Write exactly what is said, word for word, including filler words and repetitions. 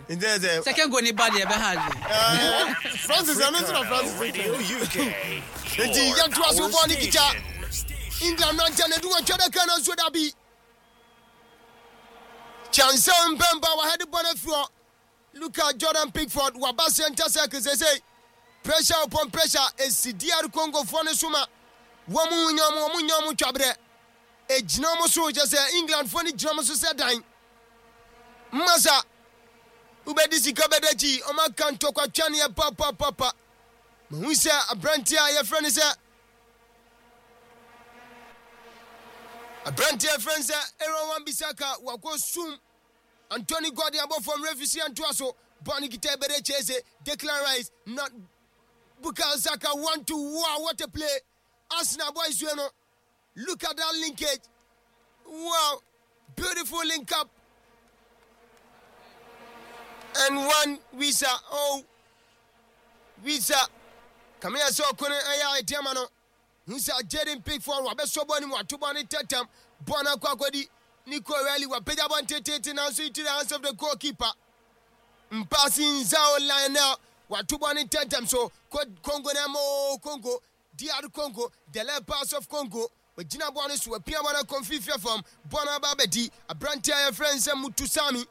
Nti sɛ Second goal ni ba deɛ, ɛbɛha adwene. Francis, ɛno nso na Francis. Radio U K. Nti Your yɛntoa so. power Bɔɔl ne kita station. England mmeranteɛ no de wɔtwa daka no nso da bi Chancel Mbemba wahɛde bɔ no afiri hɔ. Look at Jordan Pickford, waba center circle sesei. Pressure upon pressure esi D R Congo foɔ no so ma wɔn mu nya wɔn wɔn nya wɔn twaberɛ egyina wɔn so kyɛ sɛ England foɔ no gyina wɔn so sɛ dan mmasa wobɛdi sika bɛda akyi. Wɔn aka ntɔkwa twaneɛ papapapa. Mahu sɛ aberanteɛ a yɛfrɛ no sɛ aberanteɛ yɛfrɛ no sɛ Aaron Wan-Bissaka wakɔ sum Anthony Gordon abɔ fam. Referee si antoa so. Bɔɔl no kita Eberechi Eze, Declan Rice na Bukayo Saka, one two. Wow, what a play! Arsenal boys wie no. Look at that linkage. Wow, beautiful link up and one Wisa. Oh, Wisa kamea sɛ ɔko no ɛyɛ a ɛdi ama no hu sɛ Jordan Pickford wabɛsɔ bɔɔl no mu, wato bɔɔl no tɛtɛm. Bɔɔl no akɔ akɔdi Nico O'Reilly, wapagya bɔɔl ntetete nanso into the hands of the goalkeeper Mpasi Nzao Lionel. Wato bɔɔl no ntɛntɛm so. Congo na ɛma Congo, D R Congo, the left pass of Congo. Wagyina bɔɔl no so, wapia bɔɔl no akɔ mfimfini fam. Bɔɔl no aba abɛdi aberanteɛ a yɛfrɛ no sɛ Mutusami.